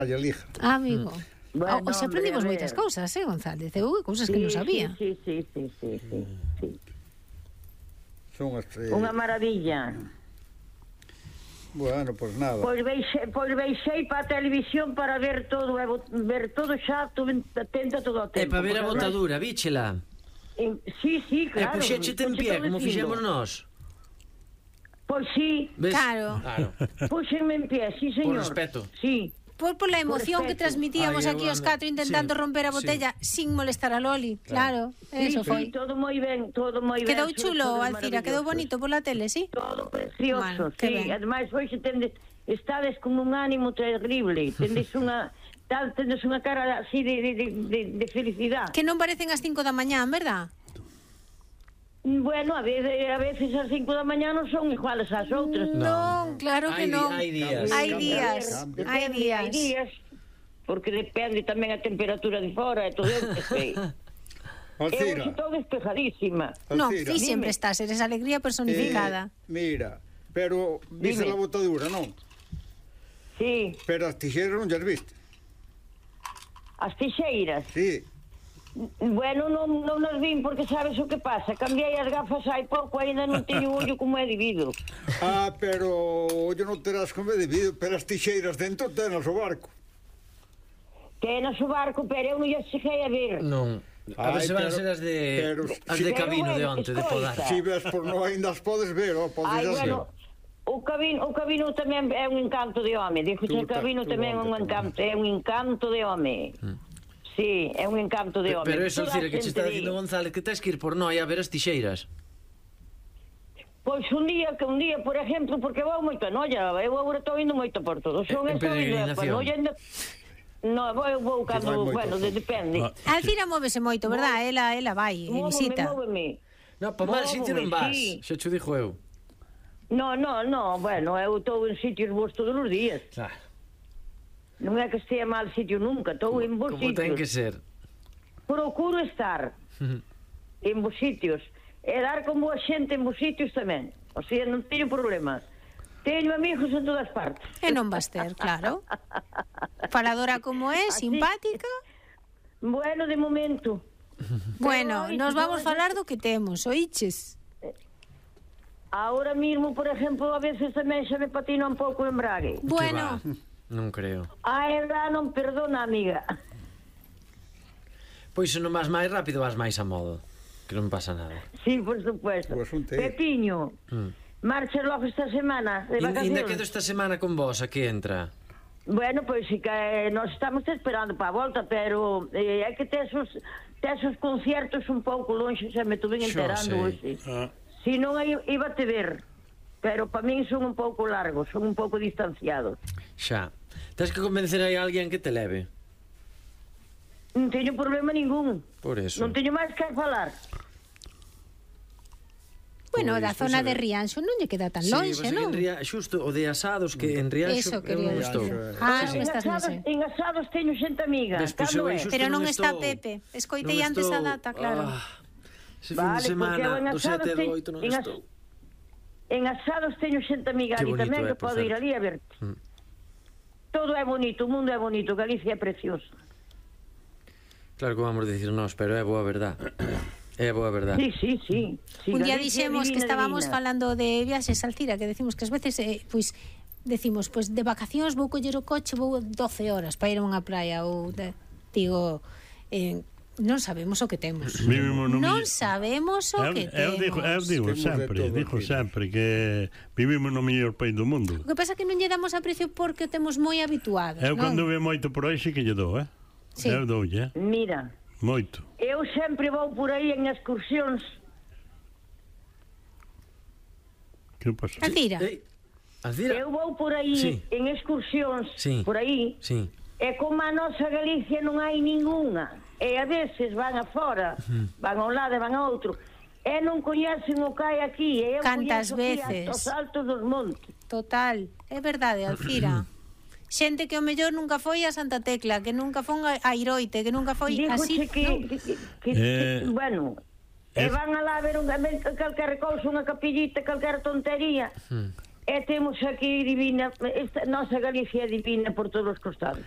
lija. Amigo. Bueno, Hoxe aprendimos hombre, a moitas ver. cousas, González? Cousas que non sabía. Sí. Son as... Unha maravilla. Bueno, pois nada. Pois veixei para a televisión para ver todo, ver todo xa, atenta todo o É tempo. para ver a botadura, víchela. Sí, E claro. puxéchete en pie, como fixemos nós. Pois sí, Ves? Claro. puxenme en pie, sí, señor. Por respeto. Sí. Por la emoción que respeto. transmitíamos Ai, aquí os Wanda. catro intentando Sí, romper a botella sin molestar a Loli. Claro, eso Sí, foi. todo moi ben, todo moi ben. Quedou sobre chulo, todo Alcira, quedou maravilloso. bonito pola tele, sí? Todo precioso, Bueno, que sí. ben. Ademais, hoxe estades con un ánimo terrible. Tendes unha cara así de felicidade. Que non parecen as 5 da mañá, verdad? Bueno, a veces as 5 da mañá non son iguales ás outras. Non, claro que non. Hai días. Hai días, Cambia. hai días. Hai días, porque depende tamén a temperatura de fora e todo eu que sei. Eu Alcira, estou despejadísima. Non, Alcira. ti sempre estás, eres alegría personificada. Mira, pero viste Dime. a botadura, non? Sí, Pero as tixeiras non llas viste. as tixeiras. Sí. Bueno, non nos vin porque sabes o que pasa. Cambiei as gafas hai pouco, ainda non teño ollo como é debido. Pero ollo non terás como debido, pero as tixeiras dentro tenas o barco. Tenas o barco, pero eu non lle cheguei a ver. Non. A ver Ai, se van pero- ser as pero- de cabino de onte, de podar. escoita. Si ves por non ainda as podes ver, o podes Ai, hacer. bueno, o cabino tamén é un encanto de home. Dixo o cabino tamén é un encanto, é un encanto de home. Sí, é un encanto de home. Pero eso, Toda a Alcira, que che está xente dicindo di. González que tens que ir por Noia a ver as tixeiras. Pois un día, por exemplo, porque vou moito a Noia, eu agora estou indo moito por todo. Son En estou indo a peregrinación. Noia ainda... No, vou vai cando, moito, bueno, depende. Alcira móvese moito, verdad? Ela vai e visita. Móveme. No, para mal sitio non vas. Sí. Xa te dixo eu. No, bueno, eu estou en sitios bons todos os días. Claro. Non é que estea mal sitio nunca, estou en bons Como ten que sitios. ser. Procuro estar en bons sitios e dar con boa xente en bons sitios tamén. O sea, non teño problemas. Teño amigos en todas partes. E non vas ter, claro. Faladora como é, Así. simpática. Bueno, de momento. Bueno, Pero, nos oíste, vamos falar do que temos, oíches? Ahora mismo, por exemplo, a veces tamén xa me patina un pouco o embrague. Bueno, Que va. Non creo. A edad non perdona, amiga. Pois se non vas máis rápido, vas máis a modo. Que non pasa nada. Sí, por supuesto. O asunto é- Pepiño, marcha logo esta semana de Ainda quedo vacacións. esta semana con vos, a que entra? Bueno, pois sí que nós estamos te esperando para a volta, pero é que tes os conciertos un pouco longe, xa me tuve Xo enterando sei. hoxe. Si non, iba a te ver. Pero para min son un pouco largos, son un pouco distanciados. Xa. Tens que convencer aí a alguén que te leve. Non teño problema ningún. Por eso. Non teño máis que falar. bueno, da Pois, zona a de ver. Rianxo non lle queda tan Sí, longe, vas aquí non? en xusto o de asados que en Rianxo Eso quería eu non decir. estou. Ah, Sí, sí. estás nese. En asados teño xente amiga. Despois Cando eu aí é? xusto Pero non está estou. Pepe. Escoitei Non antes a estou. data, claro. Ese fin de Vale, porque eu semana en do asados 7 e do teño- 8 non en as- estou. En asados teño xente amiga Que ali bonito tamén é, que por podo ir certo. ali a verte. Todo é bonito, o mundo é bonito, Galicia é precioso. Claro que vamos dicir nós, pero é boa verdad. É boa verdad. Sí. Sí, Un día Galicia é dixemos que divina, estábamos divina. falando de viaxes, Alcira, que decimos que ás veces decimos, de vacacións vou coller o coche, vou 12 horas para ir a unha praia ou digo, non sabemos o que temos. Vivimos no Non millo- sabemos o que Eu digo temos. Temos de todo aquí. sempre que vivimos no mellor país do mundo. O que pasa é que non lle damos aprecio porque o temos moi habituados, Eu non? cando ve moito por aí sí que lle dou, Sí. Eu doulle, Mira, moito. eu sempre vou por aí en excursións. Que pasa? Alcira, Alcira. Eu vou por aí Sí. en excursións, Sí. por aí. Sí. E como a nosa Galicia non hai ningunha. E a veces van afora, van a un lado e van a outro. E non coñecen o que hai aquí. E eu Cantas coñezo aquí veces. hasta os altos dos montes. total, é verdade, Alcira. Xente que o mellor nunca foi a Santa Tecla, que nunca foi a Iroite, que nunca foi así. Dígoche que, non? que bueno, e es- van a lá ver calquera cousa, unha capillita, calquera tontería. E E temos aquí divina, esta nosa Galicia é divina por todos os costados.